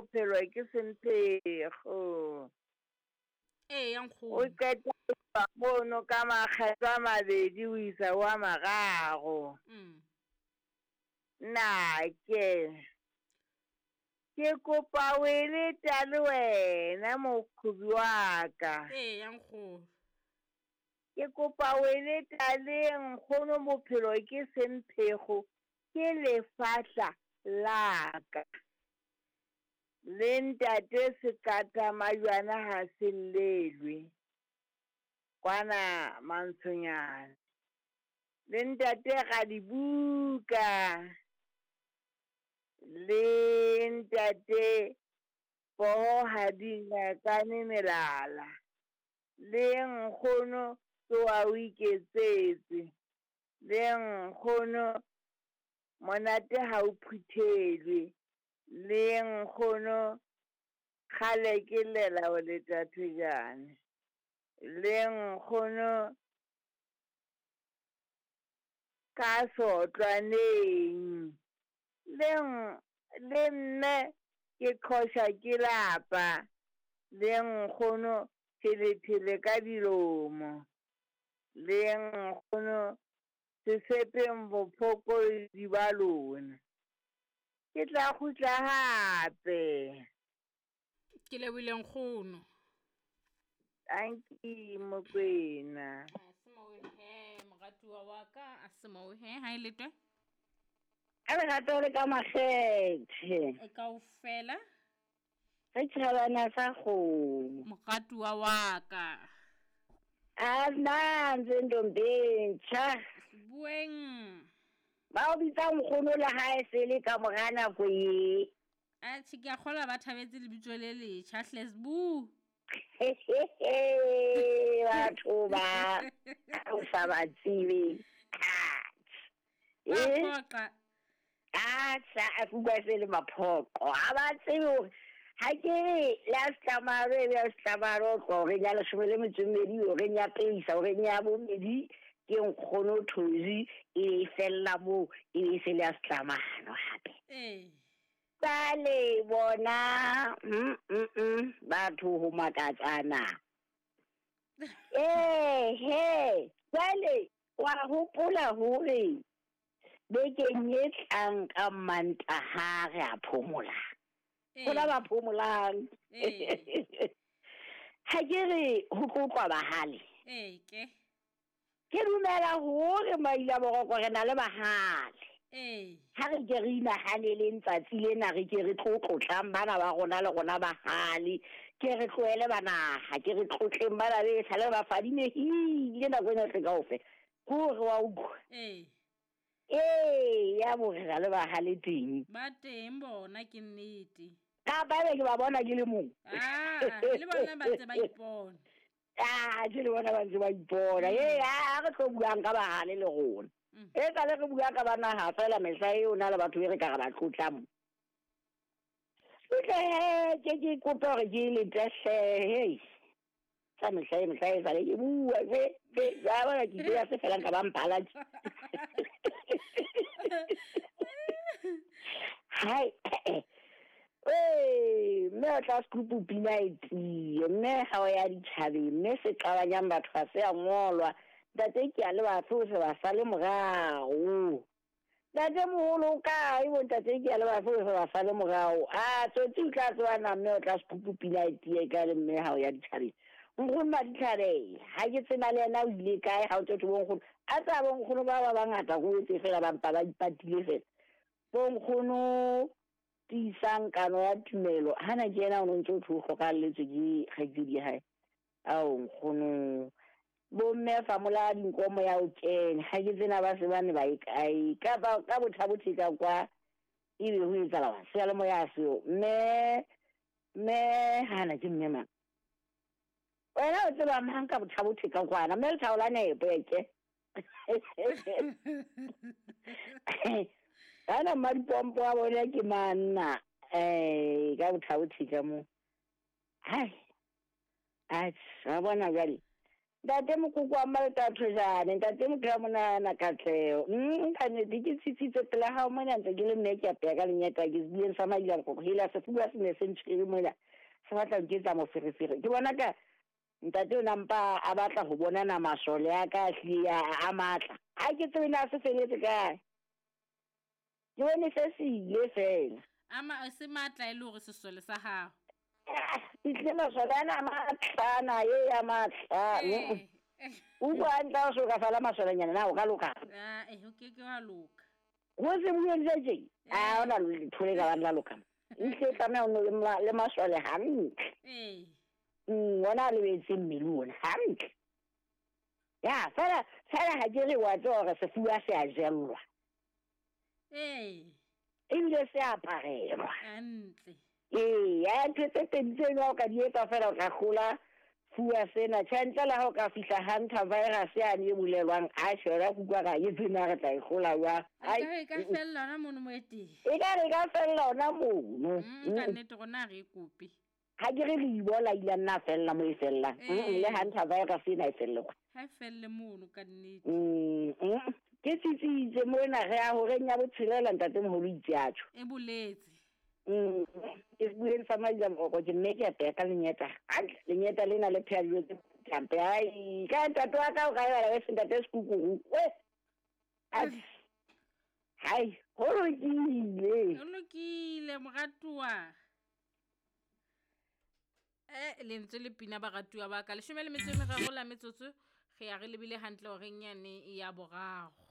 bophelo ke semphego. Eya O nkgono. qeta go tloga mono ka makgetlo a mabedi o isa ho a mararo. Nnake, ke kopa o e leta le wena moqhobi wa ka. Eya nkgono. Ke kopa o e leta le nkgono bophelo ke semphego ke lefahla la ka. Le ntate Sekata Majwana ha se llelwe, kwana Mantshonyana. Le ntate Radibuka, le ntate Poho ha di ngakane melala. Le nkgono tsoha o iketsetse, le nkgono monate ha o phuthelwe, le nkgono kgale ke llela ho leta thejane, le nkgono ka sotlwaneng, le le mme ke qhosha ke lapa, le nkgono phelethele ka dilomo, le nkgono sesepeng bofokodi ba lona. Ke tla kgutla hape. Ke lebohile nkgono. Tanki Mokwena. A se moo he moratuwa wa ka, a se moo he ha e letwe. Ka lerato le ka makgethe. E kaofela. Re tjhabana sa kgomo. Moratuwa wa ka. A nna ntse ntombi ntjha. Bueng. Ba o bitsa nkgono le ha e se le ka mora nako e. Atjhe, ke a kgolwa ba thabetse lebitso le letjha hle Sbu. Batho ba o sa ba tsebe. Ba phoqa. Atjha, a fuka se le maphoqo. Ha ba tsebe hore ha ke re le a setlamaro e be a setlamaro o tloha horeng ya 12, horeng ya peisa, horeng ya bobedi, ke nkgono Thozi e fella moo, e be se le a setlamano hape. Ee. Jwale bona, batho ho makatsana. Ee, he, jwale wa hopola hore bekeng e tlang ka Mantaha re a phomola. Hona ba phomolang. Ha ke re ho tlotlwa bahale. Ee, ke. Ke dumela hore maila boroko re na le bahale. Ee. Ha re ke re inahaneleng tsatsi lena, re ke re tlotlotlang bana ba rona le rona bahale. Ke re tlohele banaha, ke re tlotleng bana be sale ba fadimehile nako ena tle kaofela. Ke hore wa utlwa. Ee. Ee, ya bo re na le bahale teng. Ba teng bona ke nnete. Kapa ebe ke ba bona ke le mong. Ah, le bona ba ntse ba ipona. Ah, ke le bona ba ntse ba ipona. Ee, ha re tlo buang ka bahale le rona. E ka le re bua ka banaha fela mehla eo na le batho be re ka re ba tlotlang. Utlwe he, ke ke kope hore ke le tehle, hei. Tsa mehla e mehla e sale ke bua, ke, ke, ja bona ke ile ya se felang ka ba mphala tje. Hai, ee, mme o tla sekupu pina e tiye, mme ha o ya ditjhabeng, mme se qabanyang batho ha se a ngolwa. Ntate ke a le batho o se ba sale morao. Ntate moholo o kae bo ntate ke a le batho o se ba sale morao. A tsotsi o tla tseba na mme o tla sekupu pina e tiye ka le mme ha o ya ditjhabeng. Nkgono Maditlhabela, ha ke tseba le yena o ile kae ha o tsotsi bo nkgono. A tseba bo nkgono ba ba bangata ko etse fela ba mpa ba ipatile fela. Bo nkgono tiisang kano ya tumelo, hana ke yena o no ntse o thwe o hlokahalletswe ke kgaitsedi ya hae. Ao nkgono, bo mme fa mola dinkomo ya o kena, ha ke tsena ba se ba ne ba e kae. Kapa ka bothabothe ka kwa, ebe ho etsahala hore seyalemoya seo. Mme, mme hana ke mme mang? Wena o tseba mang ka bothabothe ka kwana? Mme lethabo la nepo e ke. Ana mmadipompo wa bona ke manna, ka bothabothe ka moo. Hai. Atjhe, wa bona jwale. Ntate mokoko wa Maletathojane, ntate motho ya monana Katleho. Ka nnete ke tsitsitse pela hao mona ntse ke le mme ke apeya ka lenyeta ke sebueng sa Madilamkgokgo. Hela sefuba se ne se ntshwere mona se batla ho nketsa moferefere. Ke bona ka ntate o na mpa a batla ho bona na masole a ka a hlile a matla. Ha ke tsebe na se feletse kae. Ke bone se se ile fela. Ama se matla e le hore sesole sa gago. Ehlile masole ana a matla ana e a matla. O utlwa hantle ha o so ka fala masolenyana na o ka loka? Ah, eh, o ke ke wa loka. Go se bueng se tje. A ona letho le ka bang la loka. Ehlile tlameha o le le masole hantle. Ee. Ona a lebetse mmele ona hantle. Ya, fela fela ha ke re wa tseba hore sefuba se a jellwa. Ee. Ebile se aparelwa. Hantle. Ee, ya ntho tse pedi tseno ha o ka di etsa fela o tla hlola fuwa sena. Tjhe, ntle le ha o ka fihla hunter virus yane e bolelwang, atjhe yona ke utlwa ka e tsena re tla e hlola jwang. E ka fella hona mono mo e teng. E ka re ka fella hona mono. Ka nnete rona ha re e kope. Ha ke re le Ebola ile a nna a fella mo e fellang. Le hunter virus ena e felle kwa. Ha e felle mono ka nnete. Ke tsitsitse mona re ya horeng ya botshelela ntatemoholo itse a tjho. E boletse. Ke bueng sa Madilamkgokgo ke mme ke apeya ka lenyeta. Hantle lenyeta lena le pheha dijo tse hampe. Ai ka ntate wa ka o ka ebala wese ntate Sekukuru. We. Hai, ho lokile. Ho lokile moratuwa. Lentswe le pina baratuwa ba ka. 13 la metsotso re ya re lebile hantle horeng yane ya boraro.